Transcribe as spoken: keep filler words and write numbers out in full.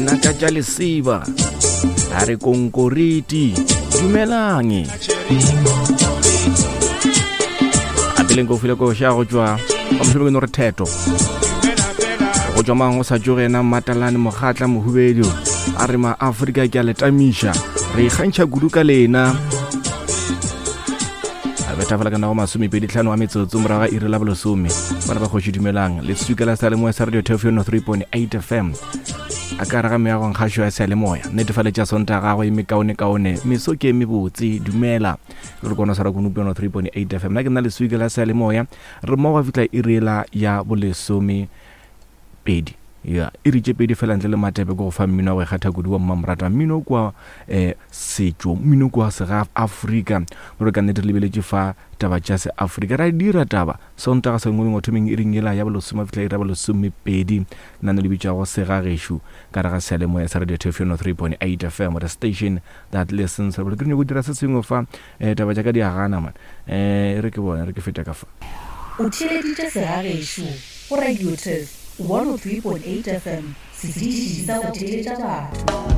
Dinaka tša lesiba a re konkoriti dumelang a peleng ko file koša go tšwa ba mohlomong ke no re theto go tšwa mang go sa tsoge yena Matalane Mokgatla Mohubedu a re ma Afrika ke a le tamiša re ikgantšha kudu ka lena a betha fela ka nako masomepedi tlhano wa metsotso morago ga iri la bolesome bana ba kgoši dumelang leswika la seyalemoya sa radio theofeno three point eight fm a ka re ga meagong kgašo ya seyalemoya netefaletša sonta gagwe e mekaonekaone meso ke e mebotse dumela re kona swara konopiano three point eight fm nna ke nna leswika la seyalemoya re mmogo fihla iri la ya bolesome pedi ya iri tše pedi fela ntle le matepe ke go fa mmino wa go ikgatha kudu wa mmamoratwa mmino kwa um setšo mmino kwa sega Afrika gore ka nnete re lebeletše fa taba tša se Afrika ra dira taba sontaga sengwe lengwe thomeng iring yela ya bolesome fihla iri ya bolesomepedi nano le bitšwago segagešo ka re ga seyalemoya sa radio theofeno three point eight fm the station that listens re ke nyako dira se sengwe fa um taba tša ka di a gana man um re ke bone re ke feta ka fa O theeleditše segagešo go Radio Turf one oh three point eight FM, setiši sa go theeletša batho.